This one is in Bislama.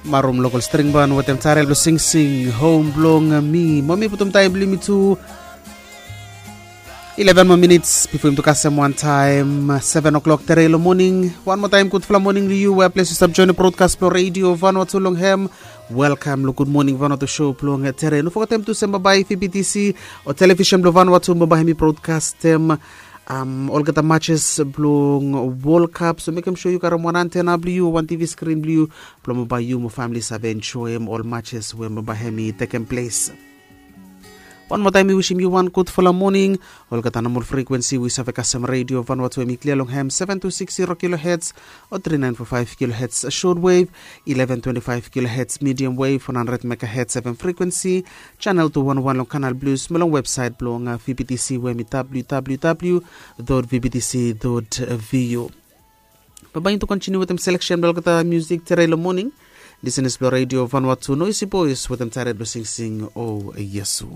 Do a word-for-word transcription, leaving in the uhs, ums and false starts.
Marum lokol string ban wetem tarel blong singsing hom blong mi. Mo mi putum taem blong yumi tu eleven moa minits bifo yumi tu kasem wantaem seven o'clock tere long moning. Wan moa taem gudfala moning long yu we ples yu stap joinim brodkas blong redio Vanuatu long hem. Welkam long Gud Moning Vanuatu show blong tere. No fogetem tu se bambae VBTC o televisen blong Vanuatu bambae hem i brodkastem um, olgeta matches blong World Cup. So mekem sure yu karem wan antena blong yu o wan TV skrin blong yu blong bambae yu mo famili save enjoem ol matches we bambae hem i tekem ples. Wan moa taem mi wisim yu wan gudfala moning. Olgeta nomol frekuensi we yu save kasem redio Vanuatu hem i klia long hem seven two six zero kilohertz o three nine four five kilohertz short wave, eleven twenty-five kilohertz medium wave, one hundred megahertz FM frekuensi, channel two one one long Kanal Blues, mo long websaet blong uh, VBTC we hem i www dot VBTC dot VU. Bambae yumi tu kontiniu wetem seleksen blong olgeta musik tere long moning. Lisenas blong redio Vanuatu, Noisy Boys wetem tarel blong singsing o Iesu.